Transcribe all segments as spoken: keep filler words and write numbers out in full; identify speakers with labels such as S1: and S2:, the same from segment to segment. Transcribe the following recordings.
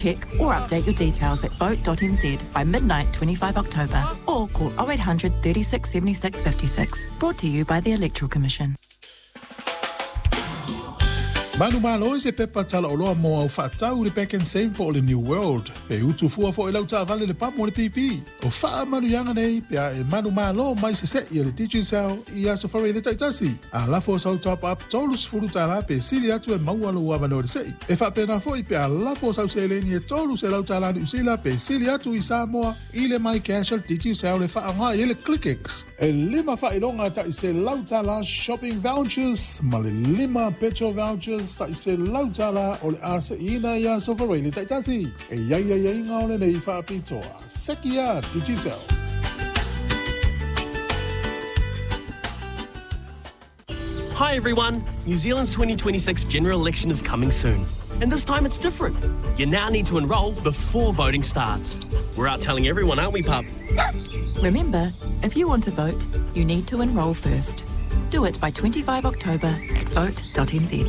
S1: Check or update your details at vote dot n z by midnight twenty-five October or call oh eight hundred thirty-six seventy-six fifty-six. Brought to you by the Electoral Commission.
S2: Manu malo se pepa tala oloa mo au whaatau le Back and Save po o le New World. Pe utu fua fo e lau taavale le pamu o le P P. O whaa manu yanga nei, pe a e manu malo mai se se i o le Digicel i a safari le taitasi. A lafo sau top up tolu sefulu tala pe sili atu e maua lo uavano le sei. E whaapena fo i pe a lafo sau seleni e tolu se lau tala ni usila pe sili atu i Samoa i le mai cash o le Digicel le whaa ngā i le ClickX. E lima whailonga ta i se lau tala shopping vouchers, ma le lima petrol vouchers sa i se lautala o le ase ina ia sofarele taitasi. E iai iai iai ngā ole nei whaapitoa. Sekia Digicel.
S3: Hi everyone! New Zealand's twenty twenty-six general election is coming soon. And this time it's different. You now need to enrol before voting starts. We're out telling everyone, aren't we, pup?
S1: Remember, if you want to vote, you need to enrol first. Do it by twenty-five October at vote dot n z.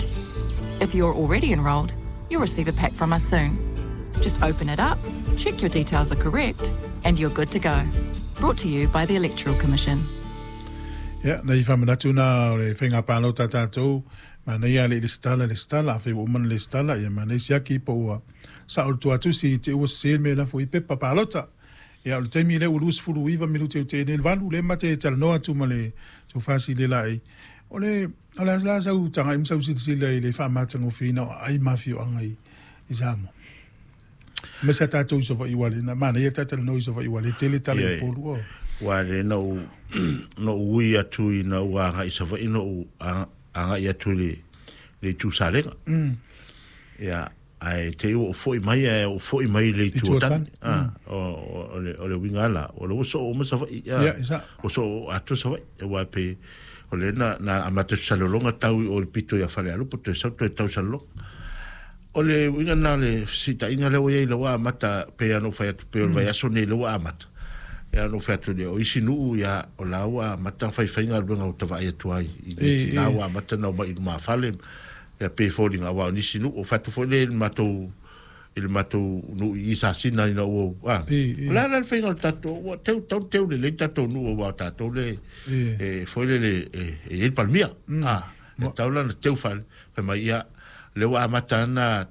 S1: If you're already enrolled, you'll receive a pack from us soon. Just open it up, check your details are correct, and you're good to go. Brought to you by the Electoral Commission.
S2: Ia, nei whamanatu nā o le whainga pālau tā tātou, ma nei a le le stala le stala, a whai umana le stala, ia ma nei siaki po ua sa o le tuatusi te ua sel me lafo i pepa pālota. Ia, o le taimi le ua lus fulu iwa minuti o te ene valu le mate talanoa atu ma le tufasi le lai. O le, o le asla sau tanga im sau silisila i le whaamatango whina o ai mawhio anga i, i Samoa. Me sa tātou i sofa i wale, na mana ia tātou no i sofa i wale, tele tale i polu o.
S4: Wa le na u, no ui atu i na ua anga i sofa i no u anga i atu le, le tu salenga.
S2: Mm.
S4: Ia, ai te o foi mai e o foi mai le tu tani. Ah, o o le o le wingala, o le so o masa ia.
S2: Ia, isa.
S4: O so atu sofa e wa pe o le na na amata salolonga tau o le pito ia fale alupo te sau te tau salolonga. O le winga na le sita inga le o ia le wa amata pe ano fai atu pe o vai aso nei le wa amata. Ia no fai atu le o isi nuu ia o la wa amata fai fai nga luenga o tava ia tuai. I le tina wa amata na o mai ma fale. Ia pe fōlinga wa o nisi nuu o fatu fo le matou i le matou nuu i sasina ina ua. Ah. O la la fai nga tatou ua teu tau teu le le tatou nuu wa tatou le e foi le le e el palmia. Ah, e tau la na teu fale. Fai mai ia le wa amata na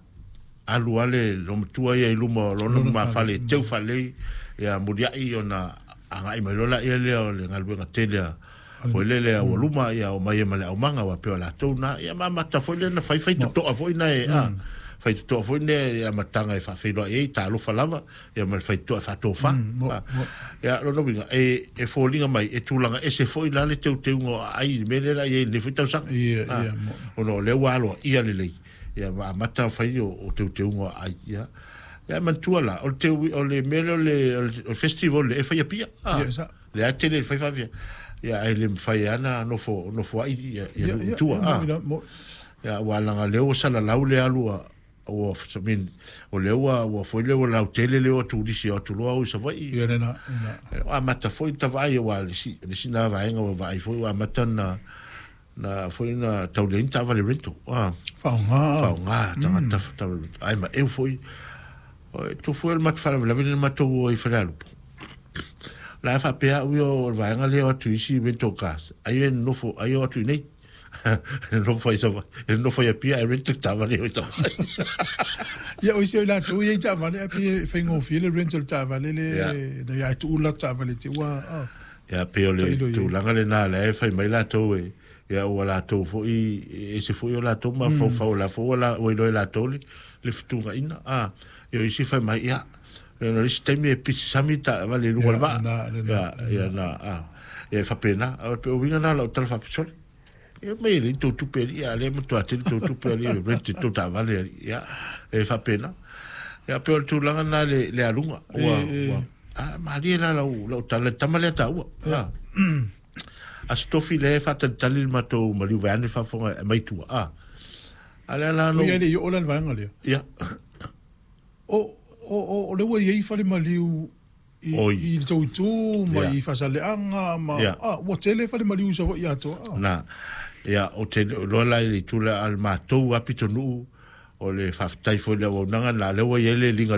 S4: alu ale lo matua ia i luma o lona ma fale teu fale ia muriai ona anga i mai lola ia lea o le galuega tele a foi le lea ua luma ia o mai e ma le aumaga ua pea o latou na ia ma amata foi le na faifai totoa foi na e a fai totoa foi ne ia mataga e faafeiloai ai talofa lava ia ma le faitoa e faatofā ia lona uiga e e foliga mai e tulaga ese foi la le teuteuga o aai i le mea lea la i ai lenei foi tausaga ona o lea ua aloa ia lelei ia ma amata fai o o teuteuga o aai ia ia manatua la o le teu o le mea lea o le o le festival le e faia pia le a tele le faifafia ia ai le mawhai ana nofo nofo ai ia ia tua a ia ua langa leo sala lau le alua ua min o leo ua foi leo lau tele leo turisi o tuloa o Savaii
S2: ia nena
S4: a mata foi tavai ua le si le si na vaenga ua vai foi ua mata na na foi na taulein tava le rento a
S2: faonga
S4: faonga tangata tau ai ma eu foi tu foi el mat fala la vene mato o i falalupo la fa pea ui o vaenga lea o atu isi rento cars ai e nofo ai o atu nei nofo i sava e nofo i pia e rento tava le o sava
S2: ia o isi o la tu ia tava le pia whaingofie le rental tava le le na ia tu ula tava le te ua
S4: ia pe o le tulaga le nā le e whai mai latou e ia ua latou foi e se foi o latou ma faufau la fo la o iloe latou le le futunga ina a ia o isi whai mai ia no isi taimi e pisi sami ta vale lunga le vaa ia ia na a ia whapena o pe o winga nā lau tala whapisole ia mai le tau tupe ali ia le matua tele tau tupe ali e rente tau ta vale ali ia e whapena ia pe o le tulaga nā le le alunga ua ua a malie la lau lau tala tama lea ta ua a a stofi le whatalitali le matou maliu veane whafonga e maitua a a le ala no
S2: ia le i o la le vaenga lea
S4: ia
S2: o o o le ua iai fale maliu i i le tauitu ma i fasaleaga ma a ua tele fale maliu sa foi atoa
S4: na ia o te loa la i le tula a le matou apitonuu O le faafetai foi i le auaunaga na lea ua i ai le liga.